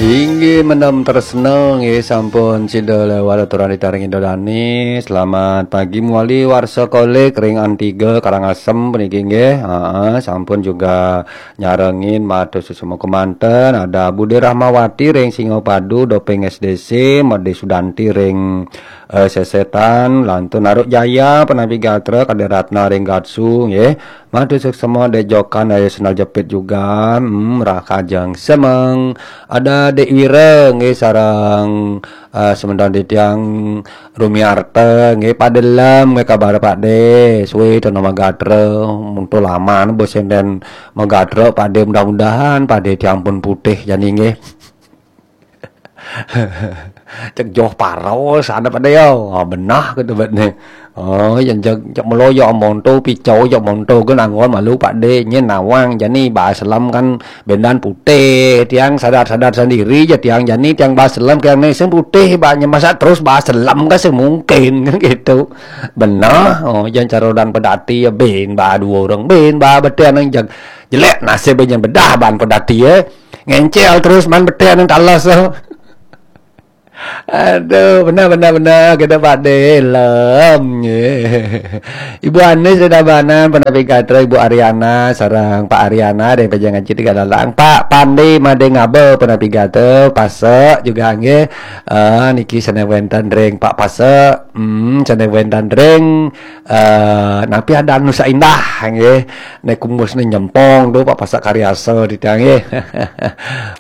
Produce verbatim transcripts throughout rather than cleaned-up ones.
Inggih, mendem tresna nggih, sampun sida lewat aturan ditaring Indo Dani. Selamat pagi mawali warsa kolik ring Antiga Karangasem puniki nggih. Heeh, sampun juga nyarengin matur suksma kemanten. Ada Bude Rahmawati ring Singapadu, Doping S D C, Made Sudanti ring eh, Sesetan, Lantun Aruk Jaya, Penapi Gatra, Kade Ratna ring Gatsu nggih. Matur suksma Dek Jokan, Ayu Sendal Jepit juga, hmm, Rahajeng Semeng. Ada Dek Wira nggih, sareng eh, semeton titiang Rumiarta nggih, Pak Delem nggih, kabar Pak De, suwe to nama gatra, muntul laman bos enten magatra Pak De, mudah-mudahan Pak De tiang pun putih jani nggih. Cek joh paros ada pada ya. Oh, benah gitu bet nih. Oh, yang cek cek melo ya monto picau ya monto kan anggon malu Pak De nyen nawang jani bahas lem kan bendan putih tiang sadar-sadar sendiri ya tiang jani tiang bahas lem tiang nih sing putih banyak masa terus bahas lem kan sing mungkin kan gitu. Benah. Oh, yang carodan pedati ya ben bah dua orang ben bah betul yang jag jelek nasib yang bedah ban pedati ya. Ngencel terus man betih nang talas tu. Aduh, benar benar benar kita Pak Delem. Ibu Anis sudah banan penapi gatra Ibu Ariana sareng Pak Ariana dari Pejangan Citi Galalang. Pak Pandi Made Ngaba penapi gatra Pasek juga nggih. Ah, niki sane wenten ring Pak Pasek. Hmm, sane wenten ring eh napi ada Nusa Indah nggih. Nek kumus ni nyempong tu Pak Pasek Karyasa di tiang nggih.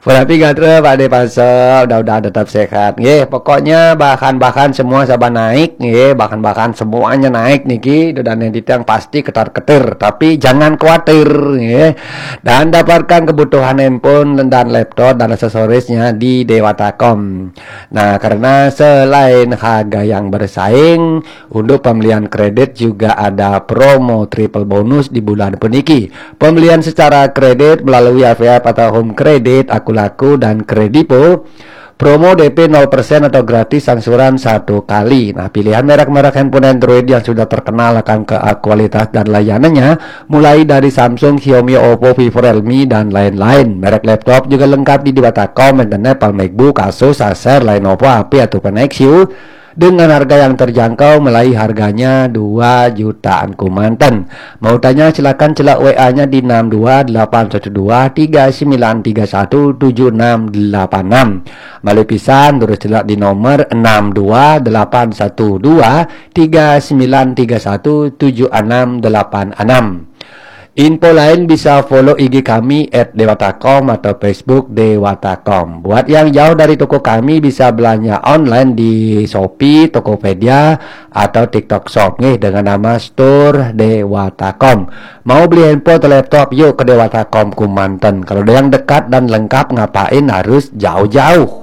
Berarti gatra Pak De Pasek, udah-udah tetap sehat nggih. Pokoknya bahan-bahan semua saban naik nggih, bahan-bahan semuanya naik niki dan yang di tiang pasti ketar-ketir, tapi jangan khawatir nggih. Dan dapatkan kebutuhan handphone dan laptop dan aksesorisnya di Dewata Com. Nah, karena selain harga yang bersaing, untuk pembelian kredit juga ada promo triple bonus di bulan puniki. Pembelian secara kredit melalui A V F atau Home Credit, Akulaku, dan Kredipo. Promo D P nol persen atau gratis angsuran satu kali. Nah, pilihan merek-merek handphone Android yang sudah terkenal akan ke kualitas dan layanannya, mulai dari Samsung, Xiaomi, Oppo, Vivo, Realme, dan lain-lain. Merek laptop juga lengkap di Dewata Com, internet, Apple, MacBook, Asus, Acer, Lenovo, H P, ataupun Nexus. Dengan harga yang terjangkau, mulai harganya dua jutaan kemanten. Mau tanya, silakan celak W A-nya di enam dua delapan satu dua tiga sembilan tiga satu tujuh enam delapan enam. Malu pisan, terus celak di nomor enam dua delapan satu dua tiga sembilan tiga satu tujuh enam delapan enam. Info lain bisa follow I G kami at dewata com atau Facebook Dewata Com. Buat yang jauh dari toko kami bisa belanja online di Shopee, Tokopedia, atau TikTok Shop nih dengan nama Store Dewata Com. Mau beli handphone atau laptop, yuk ke Dewata Com Kumanten. Kalau ada yang dekat dan lengkap, ngapain harus jauh-jauh?